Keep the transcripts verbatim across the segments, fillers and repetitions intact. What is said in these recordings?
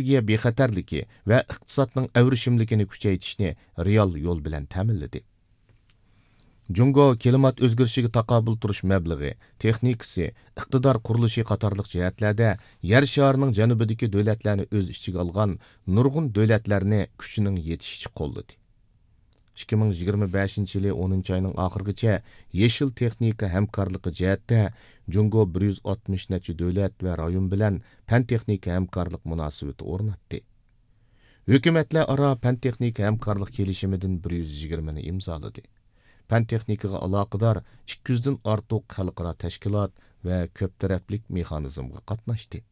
ئېنېرگىيە بىخەتەرلىكى ۋە ئىقتىسادنىڭ ئەۋرىشىملىكىنى كۈچەيتىشنى رېئال يول بىلەن تەمىنلىدى. جۇڭگو كىلىمات ئۆزگىرىشىگە تاقابىل تۇرۇش مەبلىغى، تېخنىكىسى، ئىقتىدار قۇرۇلۇشى قاتارلىق جەھەتلەردە يەر شارىنىڭ جەنۇبىدىكى دۆلەتلەرنى ئۆز ئىچىگە ئالغان نۇرغۇن دۆلەتلەرنى كۈچىنىڭ يېتىشىچە قوللىدى. ئىككى مىڭ يىگىرمە بەشىنچى يىلى ئونىنچى ئاينىڭ ئاخىرىغىچە يېشىل تېخنىكا ھەمكارلىقى جەھەتتە جۇڭگو بىر يۈز ئاتمىش نەچچە دۆلەت ۋە رايون بىلەن پەن تېخنىكا ھەمكارلىق مۇناسىۋىتى ئورناتتى. ھۆكۈمەتلەر ئارا پەن تېخنىكا ھەمكارلىق كېلىشىمىدىن بىر يۈز يىگىرمىنى ئىمزالىدى. پەن تېخنىكىغا ئالاقىدار ئىككى يۈزدىن ئارتۇق خەلقئارا تەشكىلات ۋە كۆپ تەرەپلىك مېخانىزمغا قاتناشتى.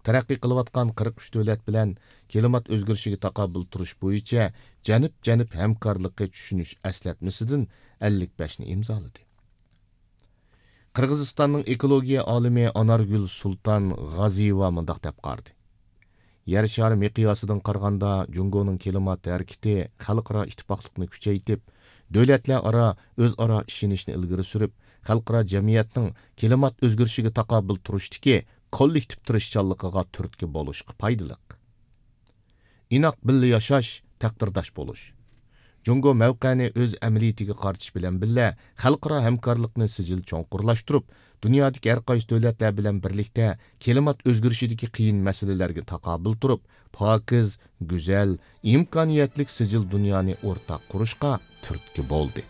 تەرەققىي قىلىۋاتقان قىرىق ئۈچ دۆلەت بىلەن كىلىمات ئۆزگىرىشىگە تاقابىل تۇرۇش بويىچە جەنۇب-جەنۇب ھەمكارلىقى چۈشىنىش ئەسلەتمىسىدىن ئەللىك بەشنى ئىمزالىدى. قىرغىزىستاننىڭ ئېكولوگىيە ئالىمى ئانارگۈل سۇلتان غازىيېۋا مۇنداق دەپ قارىدى: يەر شارى مىقياسىدىن قارىغاندا، جۇڭگونىڭ كىلىمات ھەرىكىتى خەلقئارا ئىتتىپاقلىقنى كۈچەيتىپ، دۆلەتلەر ئارا ئۆزئارا ئىشىنىشنى ئىلگىرى سۈرۈپ، خەلقئارا جەمئىيەتنىڭ كىلىمات ئۆزگىرىشىگە تاقابىل تۇرۇشتىكى كوللېكتىپ تىرىشچانلىقىغا تۈرتكە بولۇشقا پايدىلىق. ئىناق بىللە ياشاش، تەقدىرداش بولۇش. جۇڭگو مەۋقەنى ئۆز ئەمەلىيىتىگە قارىتىش بىلەن بىللە، خەلقئارا ھەمكارلىقنى سىجىل چوڭقۇرلاشتۇرۇپ، دۇنيادىكى ھەر قايسى دۆلەتلەر بىلەن بىرلىكتە كىلىمات ئۆزگىرىشىدىكى قىيىن مەسىلىلەرگە تاقابىل تۇرۇپ، پاكىز، گۈزەل، ئىمكانىيەتلىك سىجىل دۇنيانى ئورتاق قۇرۇشقا تۈرتكە بولدى.